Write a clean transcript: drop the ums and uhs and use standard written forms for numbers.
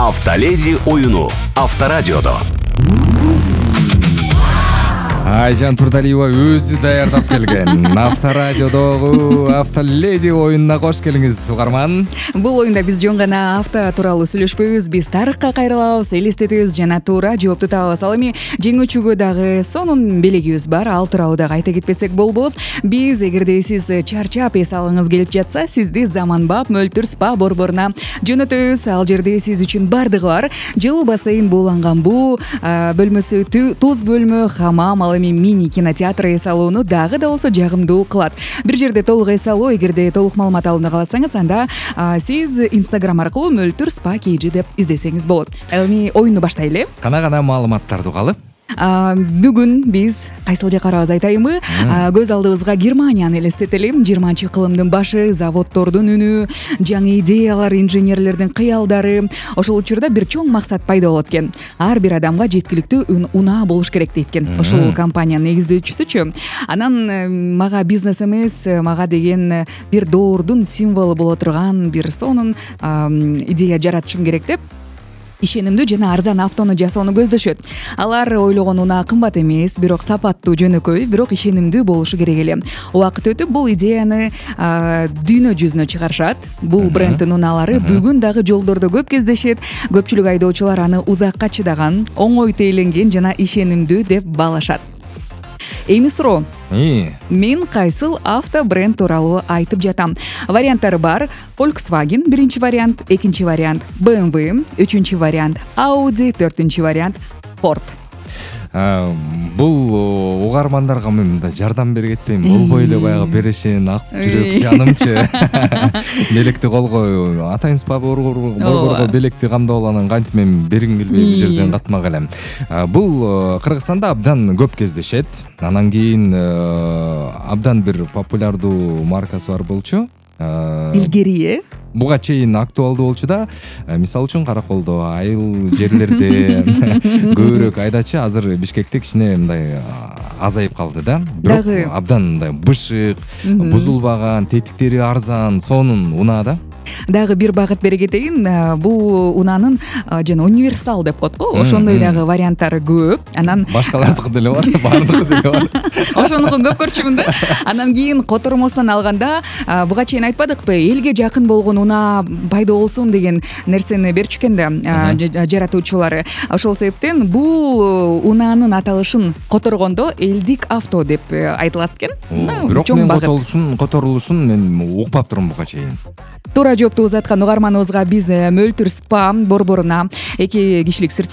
Автоледи оюну Авторадиодо. Айжан Турдалиева өзү даярдап келген Авторадиодогу Автоледи оюнуна кош келиңиз, угарман. Бул оюнда биз жөн гана авто тууралуу сүйлөшпөйбүз, биз тарыхка кайрылабыз, элестетебиз жана туура жоопту табабыз. Ал эми жеңүүчүгө дагы сонун белегибиз бар, ал тууралуу дагы айта кетпесек болбос. Биз эгерде сиз чарчап эс алгыңыз келип жатса, сизди заманбап мөлтүр спа борборуна жөнөтөбүз. Ал жерде сиз үчүн бардыгы бар. Жылуу бассейн бууланган буу бөлмөсү, туз бөлмө, хамам, ал эми мини кинотеатр эс алууну дагы да болсо жагымдуу кылат. Бир жерде толук эс алуу, эгерде толук маалымат алууну кааласаңыз, анда сиз Instagram аркылуу мөлтүр спа KG деп издесеңиз болот. Эми оюнду баштайлы. Кана маалыматтарды угалы. Бүгүн биз кайсыл жакка барабыз айтайынбы? Көз алдыбызга Германияны элестетели. 20-кылымдын башы, заводдордун үнү, жаңы идеялар, инженерлердин кыялдары. Ошол учурда бир чоң максат пайда болот экен. Ар бир адамга жеткиликтүү унаа болуш керек дейт экен. Ошол компаниянын негиздөөчүсүчү. Анан мага бизнес эмес, мага деген бир доордун символу боло турган бир сонун идея жаратышым керек деп ишенимдүү жана арзан автону жасоону көздөшөт. Алар ойлогон унаа кымбат эмес, бирок сапаттуу, жөнөкөй, бирок ишенимдүү болушу керек эле. Убакыт өтүп бул идеяны дүйнө жүзүнө чыгарышат. Бул бренддин унаалары бүгүн дагы жолдордо көп кездешет. Көпчүлүк айдоочулар аны узакка чыдаган, оңой тээленген жана ишенимдүү деп баалашат. Эми суроо. Мен кайсыл авто бренд тууралуу айтып жатам? Варианттары бар. Volkswagen биринчи вариант, экинчи вариант BMW, үчүнчү вариант Audi, төртүнчү вариант Ford. Бул угармандарга мен мындай жардам бере кетпейм. Болбой эле баягы берешен ак жүрөк жанымчы. Белекти колго атайын спа борборго белекти камдап алганын кантип мен бергим келбей бул жерден катмак элем. Бул Кыргызстанда абдан көп кездешет. Анан кийин абдан бир популярдуу маркасы бар болчу. Илгери Буга чейин актуалдуу болчу да. Мисалы үчүн Караколдо, айыл жерлерде көбүрөөк айдачы. Азыр Бишкекте кичине мындай азайып калды да. Бирок абдан мындай бышык, бузулбаган, тетиктери арзан, сонун унаа да. Дагы бир багыт бере кетейин. Бул унаанын жана универсал деп коет го. Ошондой дагы варианттары көп. Анан башкалардыкы деле бар, баардыгы деле бар. Ошонукун көп көрчүмүн да. Анан кийин котормосунан алганда, буга чейин айтпадыкпы, элге жакын болгон унаа пайда болсун деген нерсени берчү экен да жаратуучулары. Ошол себептен бул унаанын аталышын которгондо элдик авто деп айтылат экен. Бирок мен которулушун мен укпап турмун буга чейин. Туура жоопту узаткан угарманыбызга биз мөлтүр спа борборуна 2 кишилик